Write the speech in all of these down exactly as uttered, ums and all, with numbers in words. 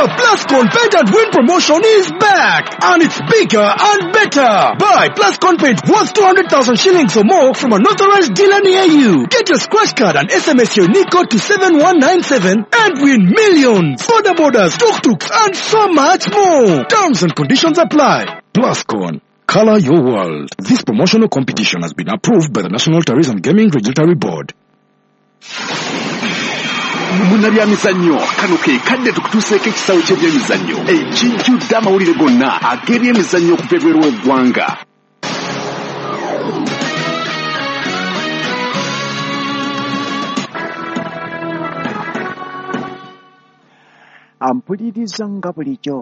The Plascon Paint and Win promotion is back, and it's bigger and better. Buy Plascon paint worth two hundred thousand shillings or more from an authorized dealer near you. Get your scratch card and S M S your unique code to seven one nine seven and win millions, border borders, tuk-tuks, and so much more. Terms and conditions apply. Plascon, color your world. This promotional competition has been approved by the National Tourism Gaming Regulatory Board. Munabyamizannyo kano ke kadde tukutuuseeko ekisawo ky'ebyemizannyo ekijjudde amawulire gonna ag'ebyemizannyo okuva ebweru w'eggwanga. Ampuliriza nga bulijjo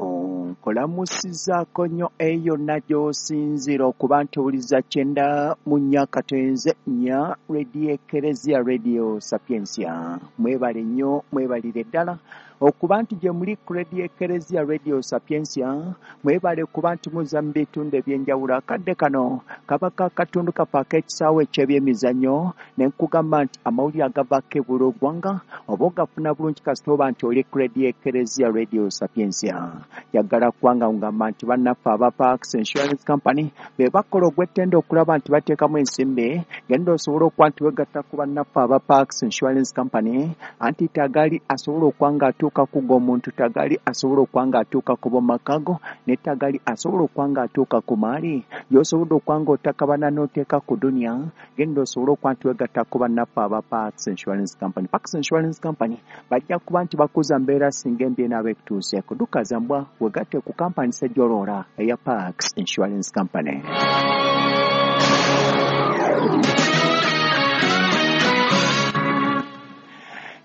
nkolamusizaako nnyo eyo yonna gy'osinziira okuba nti owuliza kyenda mu nnya katonze nnya Radio Ekereziya Radio Sapientia. Mwebale nnyo, mwebalire ddala okuba nti gye muli ku Radio Ekereziya Radio Sapientia, mwebale kuba nti muza mu bitundu eby'enjawulo. Akadde kano kaba ka katundu kaffe ak'ekisaawe eky'ebyemizannyo, ne nkugamba nti amawulire agavaako ebweru w'eggwanga oba ogafuna bulungi kasita oba nti oli ku Radio Ekereziya Radio Sapientia. Njagala kubanga ngamba nti bannaffe aba Parks Insurance Company be bakola ogw'ettendo okulaba nti bateekamu ensimbi, genda osobola okuba nti weegatta ku bannaffe aba Parks Insurance Company, anti tagali asobola okuba ng'atuuka ku g'omuntu, tagali asobola okuba ng'atuuka ku b'omumaka go, ne tagali asobola okuba ng'atuuka ku maali gy'osobodde okuba ng'otakabana n'oteeka ku duniya, genda osobola okuba nti weegatta ku bannaffe aba Parks Insurance Company. Parks Insurance Company bajja kuba nti bakuza mbeera singa embi enaaba ekutuuseeko. Duka zambwa wegatte ku kampani sejjoloola eya Parks Insurance Company.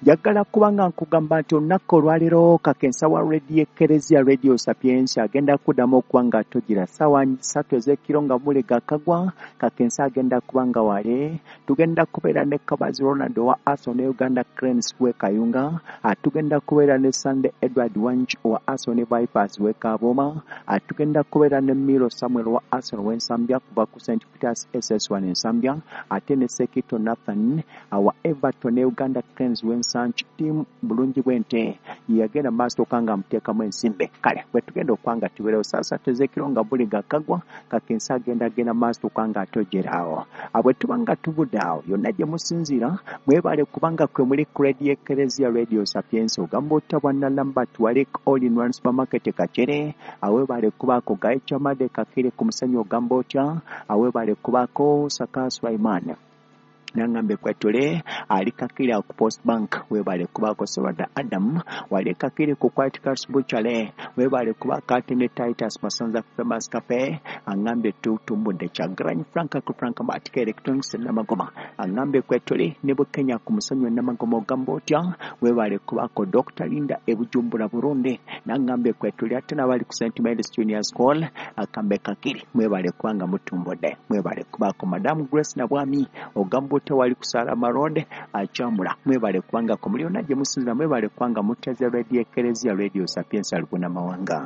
Njagala kuba nga nkugamba nti olunaku olwaleero kakensa wa Radio Ekereziya Radio Sapientia agenda kuddamu okuba nga togira ssaawa ssatu ez'ekiro nga mulega akagwa. Kakensa agenda kuba nga wale tugenda kubeera ne Kabazi Ronald owa Arsenal ne Uganda Cranes w'e Kayunga, tugenda kubeera ne Sunday Edward Wangi owa Arsenal ne Vipers w'e Kabooma, tugenda kubeera ne Miro Samuel owa Arsenal w'e Nsambya kuva ku Saint Peters S S one Nsambya, ate ne Sekito Nathan owa Everton ne Uganda Cranes w'e Nsambya. Team bulungi bw'ente yagenda maaso okanga amuteekamu ensimbi. Kale bwe tugenda okwanga tubeerewo saa ssatu ez'ekiro nga buli gakagwa, kakensa agenda agenda maaso okanga atogeraawo. Bwe tuba nga tuvudde awo yonna gye musinziira mwebale kubanga kwe muli ku Radio Ekereziya Radio Sapientia, ogamba otya bwana Lambert wali All in One Supermarket Kachere, awebale kubaako Gaye Chamade Kakire ku musenyu, ogamba otya awebale kubaako Saka Sulaiman nangambe kwetule ali kakiri ku Post Bank, webale kubaako Serwada Adam wali kakiri ku White Cars Butchery, webale kubaako Atene Titus Masanza Famous Cafe, angambe tutumbudde Kyagulanyi Frank ku Frank Matika Electronics Namagoma, angambe kwetule ne Bukenya ku musenyu Namagoma, ogamba otya webale kubaako Doctor Linda e Bujumbura Burundi, nangambe kwetule ate n'abali ku Saint Mary's Junior School akambe kakiri, mwebale kubanga mutumbudde, mwebale kubaako Madam Grace Nabwami ogamba otya wali kusala Marode achamula, mwebale kubanga ko muliona gye musinzira, mwebale kubanga muteze Radio Ekereziya Radio Sapientia Luguna Mawanga.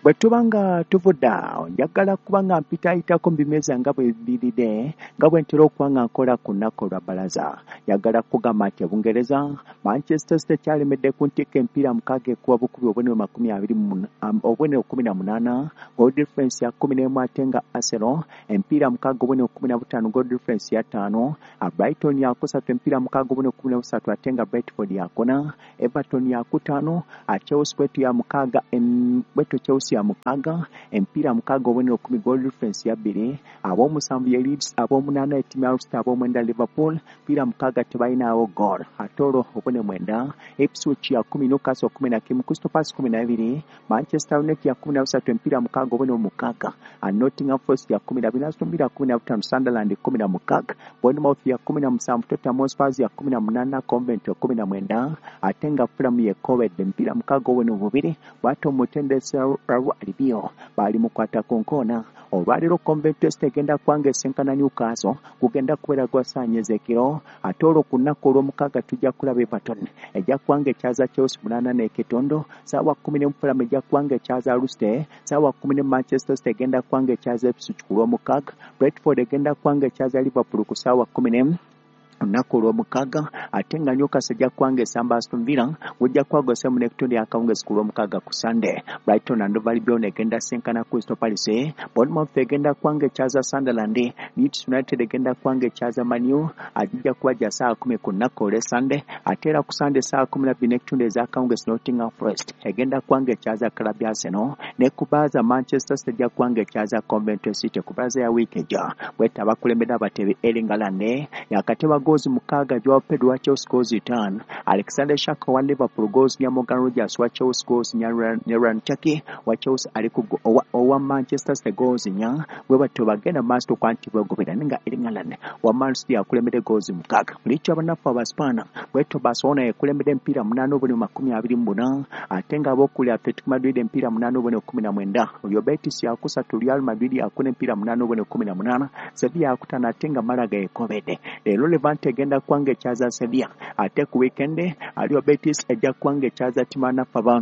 Bwe tuba nga tuvudde awo njagala kuba nga mpitaayitako mu bimeza nga bwe biridde nga bwe ntera okuba nga nkola ku nnaku olwa bbalaza. Njagala kugamba nti e Bungereza Manchester City kyalemedde ku ntikko emipiira mukaaga ekuba bukubi obubonero makumi abiri mu obubonero kkumi na munaana, goal difference ya kkumi n'emu, ate nga Arsenal emipiira mukaaga obubonero kkumi na butaano, goal difference ya ttaano. Brighton yakusatu emipiira mukaaga obubonero kkumi na busatu, ate nga Brentford yakuna. Everton yakutaano, Chelsea bwetu ya mukaaga bwetu Chelsea ya mukaaga emipiira mukaaga obubonero kkumi, goal difference ya bbiri. Ab'omusanvu ye Leeds, ab'omunaana ettiimu ya Leicester, ab'omwenda Liverpool, emipiira mukaaga tebalinawo goal. Ate olwo obubonero mwenda Ipswich ya kkumi, Newcastle kkumi na kimu, Crystal Palace kkumi na bibiri, Manchester United ya kkumi na busatu emipiira mukaaga obubonero mukaaga, Nottingham Forest ya kkumi na bina, Aston Villa kkumi na butaano, Sunderland kkumi na mukaaga, Bournemouth ya kkumi na musanvu, Tottenham Hotspur ya kkumi na munaana, Coventry kkumi na mwenda, ate nga Fulham ye Coventry emipiira mukaaga obubonero bubiri. Bw'atyo omutendesi Raul Albiol baali mukwata ku nkoona. Olwaleero Coventry City egenda kubanga esenkana Newcastle, gugenda kubeera gwa ssaawa ez'ekiro. Ate olwo ku nnaku olw'omukaaga tujja kulaba Everton ejja kubanga ekyaza Chelsea munaana n'ekitondo, ssaawa kkumi n'emu Fulham ejja kubanga ekyaza Leicester, ssaawa kkumi n'emu Manchester City egenda kubanga ekyaza Ipswich ku lw'omukaaga, Brentford egenda kubanga ekyaza Liverpool ku ssaawa kkumi n'emu. olunaku olw'omukaaga ate nga Newcastle ejja kubanga esamba Aston Villa gujja kwagwa mu n'ekitundu akawungezi ku lw'omukaaga. Ku Sunday, Brighton and Hove Albion egenda sinkana Crystal Palace, Bournemouth egenda kubanga ekyaza Sunderland, Leeds United egenda kubanga ekyaza Man U, agijja kuba gya ssaawa kumi ku lunaku olw'e Sunday. Ate era ku Sunday ssaawa kumi na bbiri n'ekitundu ez'akawungezi Nottingham Forest egenda kubanga ekyaza club ya Arsenal, ne ku Baaza Manchester City ejja kubanga ekyaza Coventry City ku balaza ya wiiki ejja. Bweta abakulembera abatebi Erling Haaland yakateba goals mukaaga, Joao Pedro wa Chelsea goals ttaano, Alexander Isak wa Liverpool goals nya, Morgan Rogers wa Chelsea goals nya, Rayan Cherki wa Chelsea ali ku owa Manchester City goals nya. Bwe batyo bagenda maaso okuba nti beegobera naye nga Erling Haaland wa Man City akulembedde goals mukaaga. Liiki abanafu Abaspaana, bwetyo Barcelona ekulembedde emipiira munaana obubonero makumi abiri mu buna, ate nga abookuli Atletico Madrid emipiira munaana obubonero kumi na mwenda, Real Betis yakusatu, Real Madrid yakuna emipiira munaana obubonero kumi na munaana, Sevilla yakutaano ate nga Malaga ekobedde. Leero Levante egenda kubanga ekyaza Sevilla, ate ku weekend Real Betis ejja kubanga ekyaza ttiimu abanafu aba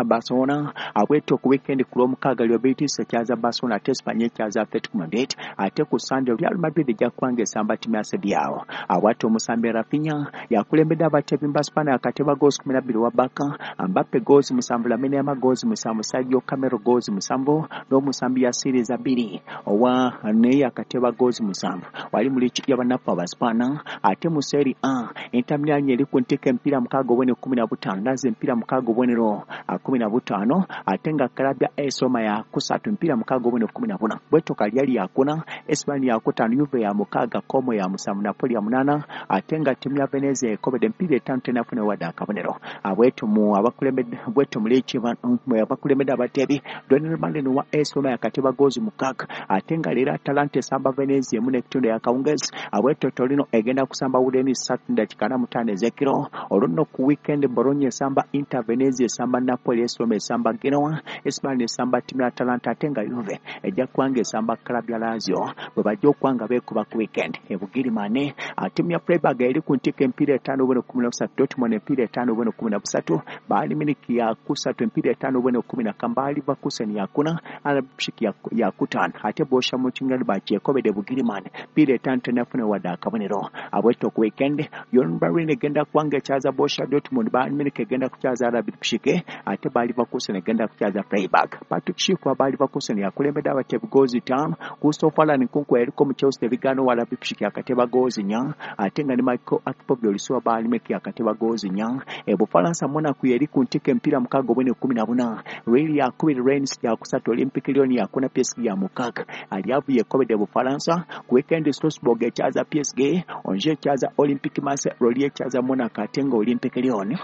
Barcelona. Abwetyo ku weekend ku lw'omukaaga Real Betis ekyaza Barcelona ate Espanyol ekyaza Atletico Madrid, ate ku Sunday Real Madrid ejja kubanga esamba ttiimu ya Sevilla. Abwatyo omusambi Raphinha yakulembedde abatebi Mbaspaana akateba goals kumi na bbiri wa Barca, Mbappe goals musanvu, Lamine Yamal goals musanvu, Sergio Camello goals musanvu n'omusambi Yasir Zabiri owa naye akateba goals musanvu wali mu liigi y'abanafu Abaspaana. Ate mu Serie A, Inter Milan eri ku ntikko emipiira mukaaga obubonero kumi na butaano, Lazio emipiira mukaaga obubonero kumi na butaano, ate nga club ya A S Roma ya kusatu emipiira mukaaga obubonero kumi na buna. Bwetyo Cagliari yakuna, Espanyol yakutaano, Juve ya mukaaga, Como ya musanvu, Napoli ya munaana, ate nga ttiimu ya Venezia ekobedde emipiira etaano tennafuna wadde akabonero. Bwetyo mu abakulembedde bwetyo mu liigi abakulembedde abatebi Donyell Malen wa A S Roma yakateba goals mukaaga, ate nga leero Atalanta esamba Venezia emu n'ekitundu yakawungezi. Bwetyo Torino egenda kusamba Udinese ssatu n'eddakiika ana mu ttaano ez'ekiro. Olwo nno ku weekend Bologna esamba Inter, Venezia esamba Napoli, A S Roma esamba Genoa, Espanyol esamba ttiimu ya Atalanta, ate nga Juve ejja kubanga esamba club ya Lazio bwe bajja okuba nga beekuba ku weekend. E Bugirimaani, ttiimu ya Freiburg eri ku ntikko emipiira etaano obubonero kumi na busatu, Dortmund emipiira etaano obubonero kumi na busatu, Bayern Munich yakusatu emipiira etaano obubonero kumi na kamu, Bayer Leverkusen yakuna, Leipzig yakutaano, ate Borussia Mönchengladbach ekobedde Bugirimaani emipiira etaano tennafuna wadde akabonero. Abwetyo ku weekend Union Berlin egenda kubanga ekyaza Borussia Dortmund, Bayern Munich egenda kukyaza Leipzig, ate Bayer Leverkusen egenda kukyaza Freiburg. Patrick Schick wa Bayer Leverkusen yakulembedde abatebi goals ttaano, Christopher Nkunku yaliko mu Chelsea ebigaano wa Leipzig yakateba goals nnya, ate nga ne Michael Akpobio wa Bayern Munich yakateba goals nnya. E Bufalansa, Monaco yeri ku ntikko emipiira mukaaga obubonero kumi na buna, Lille yakubiri, Rennes yakusatu, Olympique Lyon yakuna, P S G ya mukaaga. Aliavu yekobedde Bufalansa. Ku weekend Strasbourg ekyaza P S G, Angers ekyaza Olympique Marseille, Lorient ekyaza Monaco, ate nga Olympique Lyon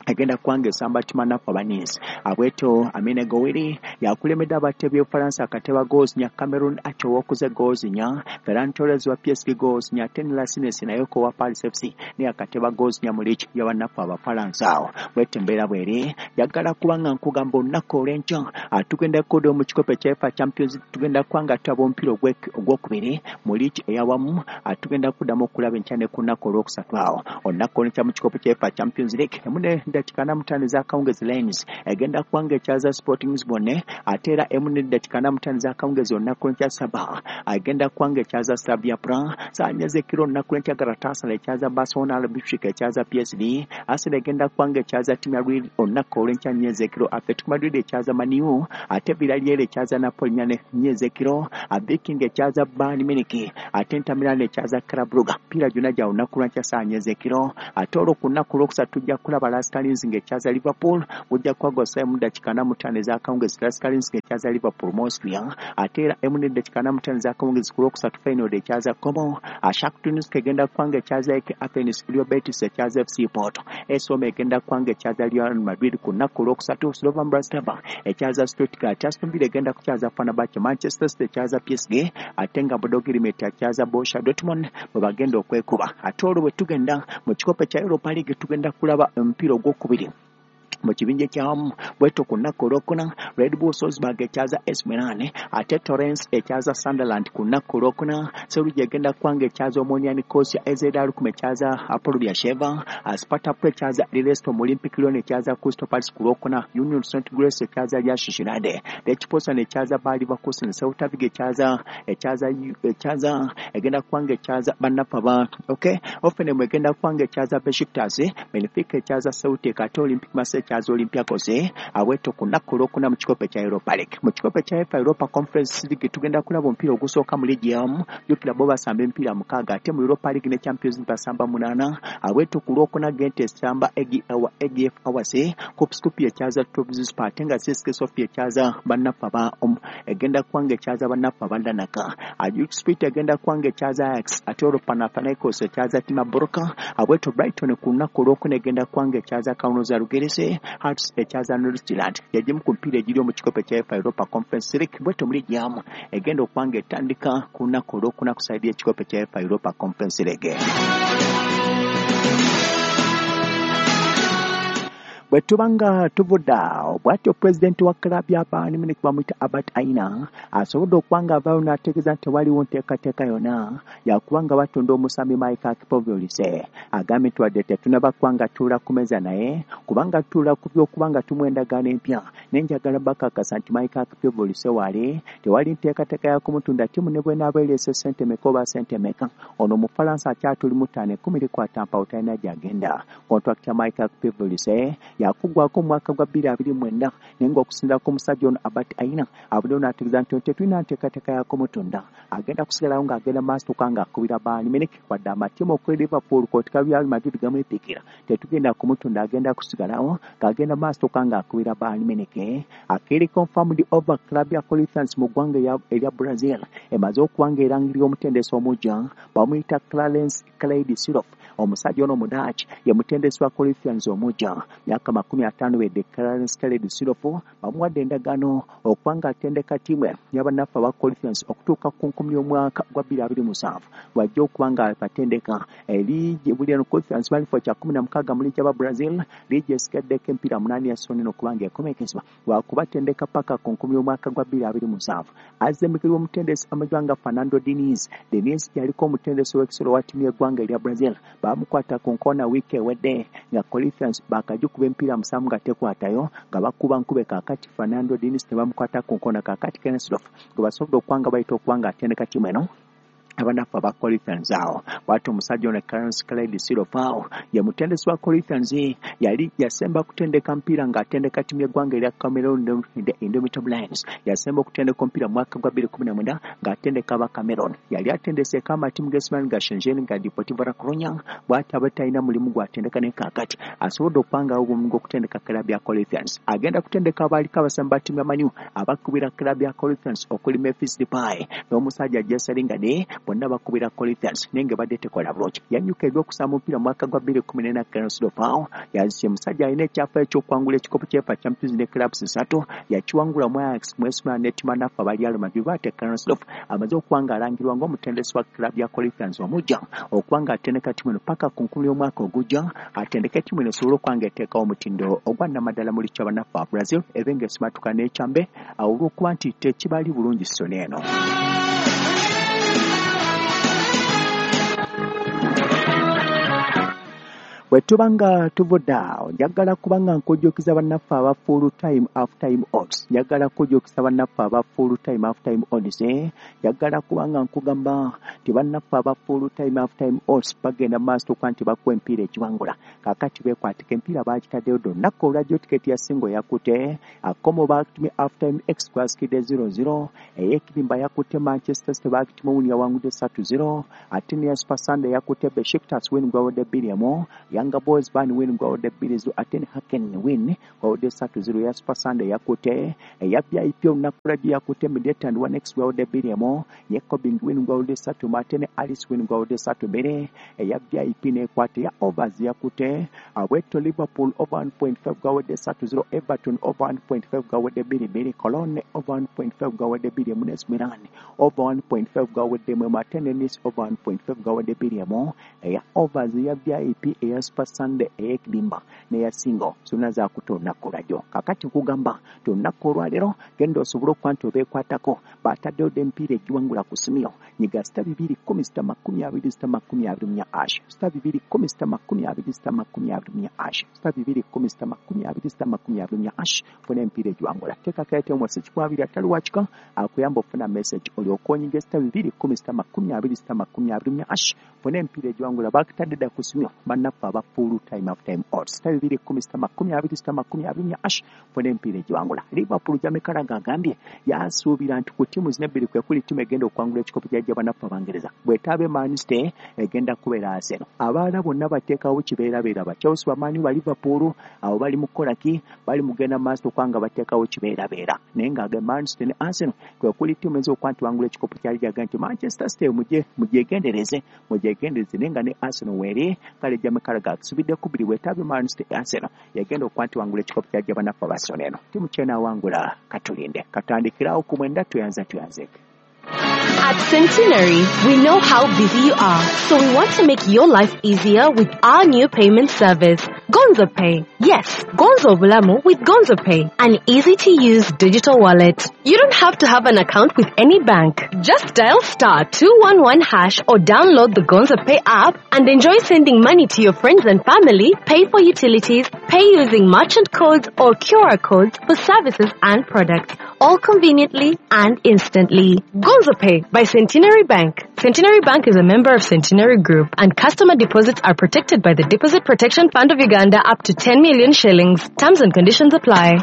agenda kubanga esamba ttiimu nafu Abanisi. Abwetyo Amine Gouiri yakulembedde abatebi Bufalansa akateba goals nnya, Cameron Acho owokuze goals nnya, Ferran Torres wa P S G goals nnya, ate ne Lasines naye ko wa Paris F C naye akateba goals nnya mu liigi y'abanafu Abafalansa awo. Bwetyo embeera bweri yagala kubanga nkugamba olunaku olw'enkya tugenda kukoda mu kikopo ekya UEFA Champions, tugenda kubanga tulaba omupiira ogwokubiri mu liigi eyawamu, tugenda kuddamu okulaba enkya ne ku lunaku olwokusatu awo olunaku olw'enkya mu kikopo kya UEFA Champions League emu n'eddakiika ana mu ttaano ez'akawungezi Lens egenda kubanga ekyaza Sporting Lisbon, ate era emu n'eddakiika ana mu ttaano ez'akawungezi olunaku lw'enkya Saba agenda kubanga ekyaza Slavia Praha. Ssaawa nnya ez'ekiro olunaku lw'enkya Galatasaray ekyaza Barcelona, Leipzig ekyaza P S G, Arsenal egenda kubanga ekyaza ttiimu ya Lille olunaku olw'enkya nnya ez'ekiro, Atletico Madrid ekyaza Man U, ate Villarreal ekyaza Napoli nnya ez'ekiro, Viking ekyaza Bayern Munich, ate Inter Milan ekyaza Club Brugge. Emipiira gyonna gya lunaku lwankya ssaawa nnya ez'ekiro. Ate olwo ku lunaku olwokusatu tujja kulaba LASK Linz ng'ekyaza Liverpool, gujja kuba emu ddakiika ana mu ttaano ez'akawungezi LASK Linz ng'ekyaza Liverpool mu Austria, ate era emu n'eddakiika ana mu ttaano ez'akawungezi ku lwokusatu Feyenoord ekyaza Como, Shakhtar Donetsk egenda kuba ng'ekyaza A E K Athens, Real Betis ekyaza F C Porto, A S Roma egenda kuba ng'ekyaza Real Madrid ku lunaku olwokusatu, Slovan Bratislava ekyaza Stuttgart, Aston Villa egenda kukyaza Fenerbahce, Manchester City ekyaza P S G, ate nga Bodo Glimt ekyaza Borussia Dortmund bwe bagenda okwekuba. Ate olwo bwe tugenda mu kikopo kya Europa League tugenda kulaba omupiira ogwokubiri Mu kibinja ekyawamu bwetyo ku nnaku olwokuna Red Bull Salzburg ekyaza A C Milan, ate Torrens ekyaza Sunderland ku nnaku olwokuna. Sevilla egenda kubanga ekyaza Omonia Nicosia, A Z Alkmaar ekyaza Hapoel Beersheva, Sparta Prague ekyaza Leicester, Olympic Lyon ekyaza Crystal Palace ku lwokuna, Union Saint Grace ekyaza Real Sociedad, Lech Poznan ekyaza Bayer Leverkusen, Celta Vigo ekyaza ekyaza ekyaza egenda kubanga ekyaza bannaffe aba okay Hoffenheim egenda kubanga ekyaza Besiktas, Benfica ekyaza Celtic, ate Olympic Marseille ekyaza Olympiacos. Abweto ku nnaku olwokuna mu kikopo ekya Europa League. Mu kikopo ekya UEFA Europa Conference League tugenda kulaba omupiira ogusooka mu liigi yamu, jjukira bo basamba emipiira mukaaga, ate mu Europa League ne Champions League basamba munaana. Abweto ku lwokuna Gent esamba A G F Awase, Kup Skopje ekyaza Trabzonspor, ate nga C S K Sofia ekyaza bannaffe aba egenda kubanga ekyaza bannaffe aba Larnaca. Ajax Split egenda kubanga ekyaza Ajax, ate olwo Panathinaikos ekyaza Tima Broka. Abweto Brighton ku lunaku olwokuna egenda kubanga ekyaza Kaunas Žalgiris, Hearts ekyaza Nordsjælland. Yagimu ku mipiira egiri mu kikopo ekya UEFA Europa Conference League. Bwetyo mu liigi yamu egenda okubanga etandika ku lunaku olwokuna ku sayidi y'ekikopo ekya UEFA Europa Conference League. Bwe tubanga tuvudde awo, bw'atyo pulezidenti wa club ya Bayern Munich bamuyita Albert Aina asobodde okubanga avaayo n'ategeeza nti tewaliwo nteekateeka yonna yakubanga batunda omusambi Michael Kipolise. Agambye nti wadde tetunnaba kubanga tutuula ku mmeeza naye kubanga tutuula ku by'okubanga tumuwa endagaano empya, naye njagala bakakasa nti Michael Kipolise waali tewali nteekateeka ya kumutunda ttiimu ne bw'enaaba ereese ssente meka oba ssente meka. Ono Omufalansa akyatulimu ttaano ekkumi likwata mpawo talina gy'agenda. Kontrakiti ya Michael Kipolise yakuggwako mu mwaka gwa bbiri abiri mwenda, naye ng'okusinziira ku musajja ono Albert Aina avuddeyo n'ategeeza nti tetulina nteekateeka ya kumutunda, agenda kusigalawo ng'agenda maaso tuka ng'akubira Bayern Munich, wadde amatiimu okuli Liverpool kwotika Real Madrid gamwepikira, tetugenda kumutunda, agenda kusigalawo ng'agenda maaso tuka ng'akubira Bayern Munich. Akiri confirmed over club ya Corinthians mu ggwanga erya Brazil emaze okuba ng'erangirira omutendesi omujja bamuyita Clarence Clyde Seedorf. Omusajja ono Omudaaki ye mutendesi wa Corinthians omujja, myaka makumi ataano wedde. Clarence Clyde Seedorf bamuwadde endagaano okuba ng'atendeka ttiimu y'abannaffe aba Corinthians okutuuka ku nkumi y'omwaka gwa bbiri abiri musanvu wajja okuba nga batendeka liigi buli eno. Corinthians bali kifo kya kkumi na mukaaga mu liigi y'aba Brazil, liigi esigaddeko emipiira munaana ya Sony okuba ng'ekomekezebwa lwakubatendeka paka ku nkumi y'omwaka gwa bbiri abiri musanvu. Azze emikiri w'omutendesi amajwa nga Fernando Diniz. Diniz yaliko omutendesi w'ekisolo wa ttiimu y'eggwanga erya Brazil, bamukwata ku nkoona wiiki ewedde nga Corinthians bakagikuba emipiira musanvu nga tekwatayo nga bakuba nkube. Kaakati Fernando Diniz tebamukwata ku nkoona, kaakati Kenneth Seedorf gwe basobodde okuba nga bayita okuba nga atendeka ttiimu eno abanafu aba Corinthians awo. Bw'atyo omusajja ono Clarence Clyde Seedorf awo ye mutendesi wa Corinthians, yali yasemba kutendeka mpiira ng'atendeka ttiimu y'eggwanga erya Cameroon the Indomitable Lions. Yasemba okutendeka omupiira mu mwaka gwa bbiri kumi na mwenda ng'atendeka aba Cameroon. Yali atendeseeko amatiimu g'Esman nga Shenzhen nga Deportivo La Coruña. Bw'atyo aba talina mulimu gw'atendeka naye kaakati asobodde okubangawo omulimu gw'okutendeka club ya Corinthians. Agenda kutendeka abaaliko abasambi ba ttiimu ya Man U abakubira club ya Corinthians okuli Memphis Depay n'omusajja Jesse Lingard, bonna bakubira Corinthians naye nga badde tekola bulungi. Yanyuka ebyokusamba omupiira mu mwaka gwa bbiri kumi n'ena. Clarence Seedorf yazise musajja alina ekyafaayo eky'okuwangula ekikopo kya UEFA Champions League clubs ssatu, yakiwangula mu Ajax, mu A C Milan ne ttiimu bannaffe aba Real Madrid. Bw'atyo Clarence Seedorf amaze okuba nga alangirwa ng'omutendesi wa club ya Corinthians omujja okuba nga atendeka ttiimu eno paka ku nkumi y'omwaka ogujja, atendeke ttiimu eno esobole okuba nga eteekawo omutindo ogwa nnamaddala mu liigi y'abannaffe aba Brazil ebe ng'esimatuka n'ekyambe olw'okuba nti tekibali bulungi ssoni eno. Bwe tuba nga tuvudde awo, njagala kuba nga nkujjukiza bannaffe aba full time half time odds. Njagala kujjukiza bannaffe aba full time half time odds, njagala kuba nga nkugamba nti bannaffe aba full time half time odds bagenda maaso okuba nti bakuwa emipiira egiwangula. Kaakati beekwatika emipiira baagitaddeyo dda olunaku olwajjo. Tiketi ya single yakutte Como bagitumye half time x gwasikidde zero zero, ey'ekirimba yakutte Manchester City bagitumye win yawangudde ssatu zero, ate ne Super Sunday yakutte Besiktas win gwawudde bbiri emu, Young Boys Bern win gwawudde bbiri zero, ate ne Hacken win gwawudde ssatu zero. Ya Super Sunday yakutte eya V I P olunaku lwajjo yakutte Midtjylland one x gwawudde bbiri emu, Jönköping win gwawudde ssatu, ate ne Alice win gwawudde ssatu bbiri. Eya V I P n'ekwata ya overs yakutte Bwetyo Liverpool over one point five gwawudde ssatu zero, Everton over one point five gwawudde bbiri bbiri, Cologne over one point five gwawudde bbiri emu, ne Milan over one point five gawedde emu, ate ne Nice over one point five gawedde bbiri emu. Eya overs eya V I P eya Super Sunday ey'ekidimba n'eya single zonna zakutte olunaku olwajjo. Kakati nkugamba nti olunaku olwaleero genda osobole okuba nti obeekwatako, bataddeyo dda emipiira egiwangula ku simu yo. Nyiga sita bibiri kkumi sita makumi abiri sita makumi abiri mu nnya ash, sita bibiri kkumi sita makumi abiri sita makumi abiri mu nnya ash, sita bibiri kkumi sita makumi abiri sita makumi abiri mu nnya ash, funa emipiira egiwangula. Teekako airtime wasi kikumi abiri atali wakika akuyamba okufuna message, olyoke onyige sita bibiri kkumi sita makumi abiri sita makumi abiri mu nnya ash, funa emipiira egiwangula. Bakutadde dda ku simu yo bannaffe aba full time half time odds. Sita bibiri kkumi sita makumi abiri sita makumi abiri mu nnya ash, funa emipiira egiwangula. Liverpool, Jamie Carragher agambye yasuubira nti ku ttiimu zino ebbiri kwe kuli ttiimu egenda okuwangula ekikopo kya bannaffe Abangereza. Bw'etaabe Man City, egenda kubeera Arsenal. Abaana bonna bateekawo kibeerabeera, ba Chelsea, ba Man U, ba Liverpool, abo bali mu kukola ki? Bali mugenda maaso okubanga bateekawo kibeerabeera, naye nga Man City ne Arsenal kwe kuli ttiimu eyinza okuba nti wangula ekikopo kya liigi. Agamba nti Manchester City mugye mugyegendereze, mugyegendereze, naye nga ne Arsenal weeri. Kale Jamie Carragher akusubidde kubiri, bwetaabe Man City, Arsenal yagenda okuba nti wangula ekikopo kya liigi. Bannaffe Abasono, eno ttiimu kyenaawangula, katulinde katandikirawo ku mwenda. Tuyanza tuyanzeke. At Centenary, we know how busy you are, so we want to make your life easier with our new payment service, Gonzo Pay. Yes, Gonzo Bulamu with Gonzo Pay, an easy to use digital wallet. You don't have to have an account with any bank. Just dial star two one one hash or download the Gonzo Pay app and enjoy sending money to your friends and family, pay for utilities, pay using merchant codes or Q R codes for services and products, all conveniently and instantly. Gonzo Pay by Centenary Bank. Centenary Bank is a member of Centenary Group, and customer deposits are protected by the Deposit Protection Fund of Uganda up to ten million shillings. Terms and conditions apply.